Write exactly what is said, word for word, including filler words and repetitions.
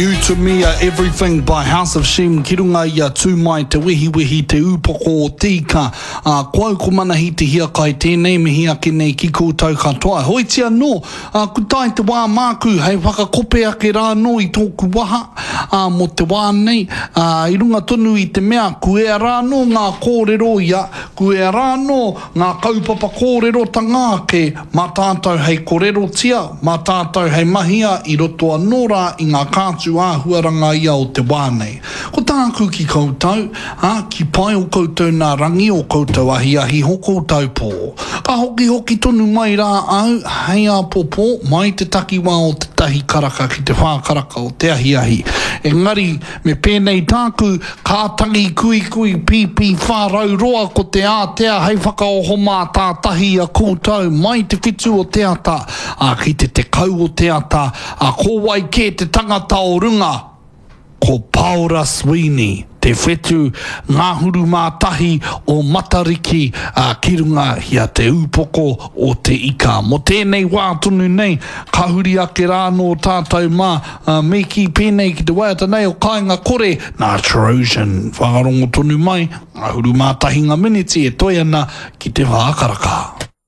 You to Me Are Everything by House of Shem ki runga i a Tū Mai Te Wehiwehi Te Ūpoko o Te Ika. Ā, ko au ko Manahi Te Hiakai tēnei mihi ake nei ki koutou katoa. Hoiti anō, ā, ku tae te wā māku hei whakakope ake rā anō i tōku waha, ā, mō te wā nei, ā, i runga tonu i te mea, ku ea rā anō ngā kōrero ia, ku ea rā anō ngā kaupapa kōrerotanga ake mā tātou hei korerotia, mā tātou hei mahia i roto anō rā i ngā kātū āhuaranga ia o te wā nei. Ko tāku ki koutou, ā, ki pai o koutou nā rangi, o koutou ahiahi, ho koutou pō. Ka hokihoki tonu mai rā au, hei āpōpō, mai te takiwā o te tahi karaka ki te whā karaka o te ahiahi. Engari, me pēnei tāku, ka tangi kuikui pīpī whārau roa ko te ātea hei whakaoho mātātahi i a koutou mai te whitu o te ata, ā, ki te tekau o te ata, ā, ko wai kē te tangata o runga? Ko Paora Sweeney, te whetu ngahuru mā tahi o Matariki, ā, ki runga i a Te Ūpoko o Te Ika. Mō tēnei wā tonu nei, ka huri ake rā anō tātou mā, ā, me kī pēnei ki te waiata nei o Kāinga Kore, nā Trojan. Whakarongo tonu mai, ngahuru mā tahi ngā miniti e toe ana ki te whā karaka.